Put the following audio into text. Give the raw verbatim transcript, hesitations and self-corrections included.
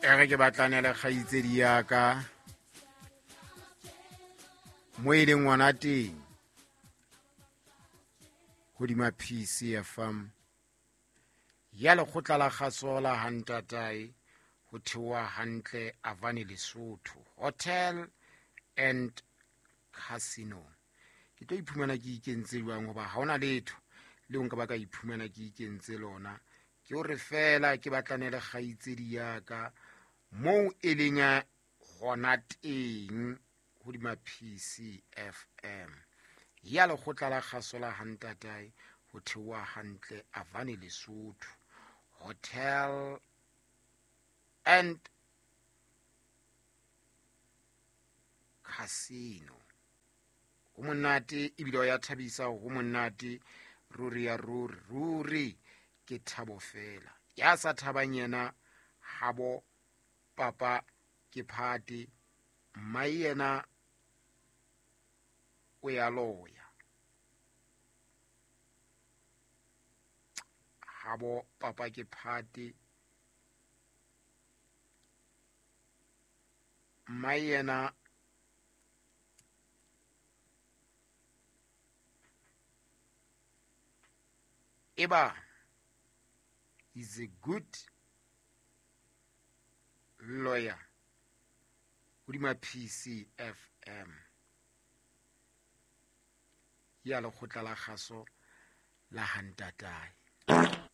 E re ke batlane le kgaitsedi ya ka mo e leng ngwana teng hodima P C F M ya lekgotla la kgaso la Hantatae ho theoha hantle Avani Lesotho Hotel and Casino. Ke tlo iphumana ke ikentse jwang hoba ha hona letho leo nka ba ka iphumana ke ikentse lona. Ke hore fela ke batlane le kgaitsedi ya ka moo e leng hona teng hodima P C F M ya lekgotla la kgaso la Hantatae ho theoha hantle Avani Lesotho Hotel and Casino. Ho monate ebile ya thabisa, ho monate ruri ya ruri ruri ke thabo fela. Ya sa thabang yena habo papa ke phate, mma yena o ya loya. Habo papa ke phate, mma yena eba is a good lawyer hodima P C F M ya lekgotla la kgaso la Hantatae.